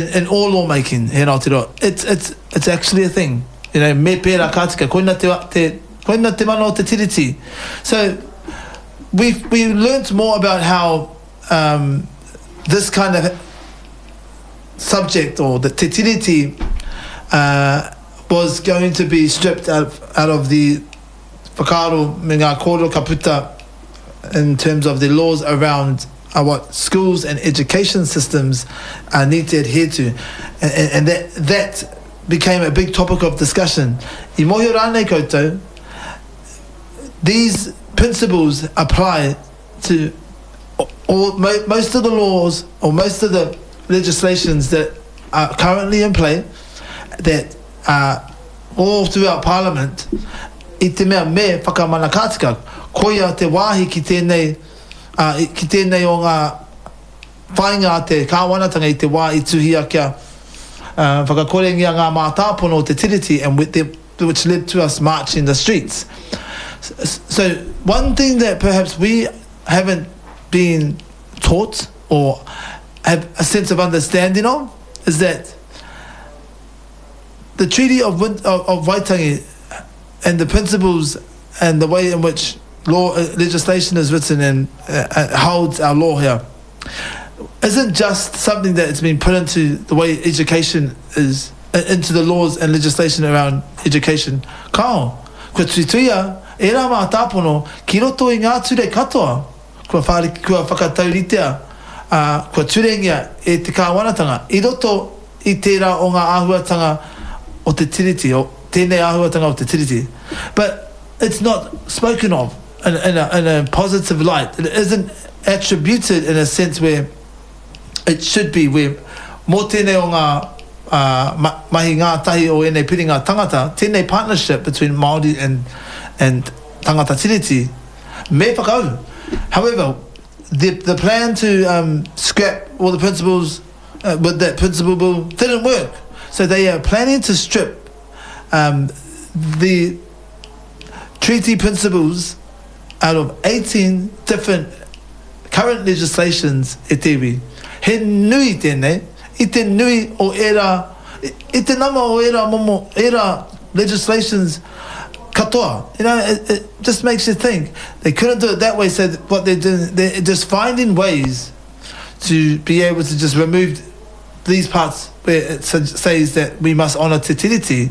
In all law making here in Aotearoa, it's, it's, it's actually a thing. You know, me pērā ka tika, koina te, te, koina te mana o te tiriti. So, we, we learnt more about how um, this kind of subject or the te tiriti uh, was going to be stripped out of, out of the whakaaro me ngā kōrero ka puta in terms of the laws around uh, what schools and education systems uh, need to adhere to. And, and, and that, that became a big topic of discussion. I mōhio rānei koutou, these principles apply to all, mo, most of the laws or most of the legislations that are currently in play that are all throughout Parliament i te mea me whakamana ka tika. Koia te wāhi ki tēnei, ā, ki tēnei o ngā whāinga a te kāwanatanga i te wā i tuhia kia whakakorengia ngā mātāpono o te Tiriti and with the, which led to us marching the streets. So one thing that perhaps we haven't been taught or have a sense of understanding of is that the Treaty of, of, of Waitangi and the principles and the way in which law uh, legislation is written and uh, uh, holds our law here isn't just something that has been put into the way education is uh, into the laws and legislation around education. Kao, kua tuituia e rā mātāpono ki roto i ngā ture katoa kua, whāri, kua whakatauritea, uh, kua turengia e te kāwanatanga i roto i tērā o ngā āhuatanga o te tiriti, o tēnei āhuatanga o te tiriti. But it's not spoken of in, in, a, in a positive light. It isn't attributed in a sense where it should be, where mō tēnei o ngā uh, ma, mahi ngātahi o ēnei piringa tangata, tēnei partnership between Māori and, and tangata tiriti, me whakauru. However, the, the plan to um, scrap all the principles uh, with that principle bill didn't work. So they are planning to strip um, the treaty principles out of 18 different current legislations e te iwi. He nui tēnei, i te nui o ērā, i te nama o ērā momo, ērā legislations katoa. You know, it, it just makes you think. They couldn't do it that way, so what they're doing, they're just finding ways to be able to just remove these parts where it says that we must honour Te Tiriti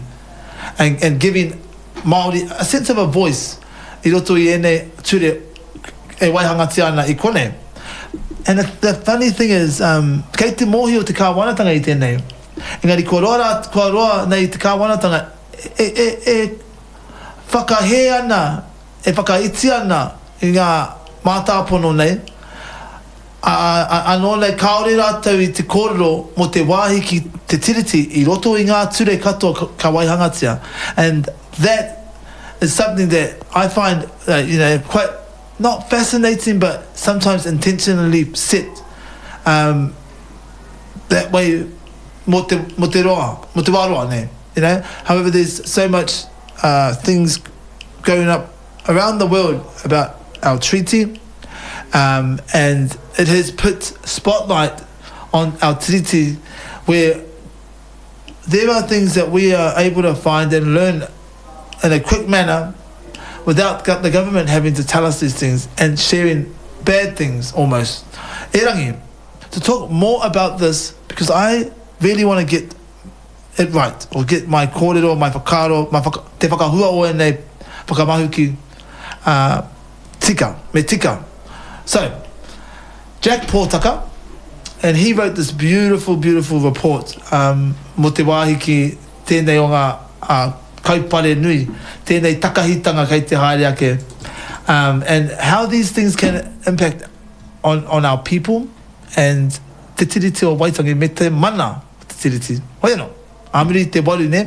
and, and giving Māori a sense of a voice i roto i ēnei ture e waihangatia ana i konei. And the, the funny thing is, um, kei te mōhio te kāwanatanga i tēnei. Engari kua roa, rā, kua roa nei te kāwanatanga e, e, e whakahē ana, e whakaiti ana i ngā mātāpono nei, ā, ā, anō nei kāore rātou i te kōrero mō te wāhi ki te Tiriti i roto i ngā ture katoa ka waihangatia. And that is something that I find, uh, you know, quite not fascinating, but sometimes intentionally set um, that way mō te, mō te roa, mō te wā roa nei. You know? However, there's so much uh, things going up around the world about our treaty, um, and it has put spotlight on our treaty where there are things that we are able to find and learn in a quick manner without the government having to tell us these things and sharing bad things almost. Erangi, to talk more about this, because I really want to get it right, or get my kōrero, my whakaaro, my whaka, te whakahua o ēnei whakamahuki uh, tika, me tika. So, Jack Pōtaka, and he wrote this beautiful, beautiful report um, mō te wāhi ki tēnei o ngā uh, kaupare nui, tēnei takahitanga kei te haere ake, um, and how these things can impact on, on our people and te Tiriti o Waitangi me te mana o te Tiriti. Hoi anō, ā muri i te waru, nē?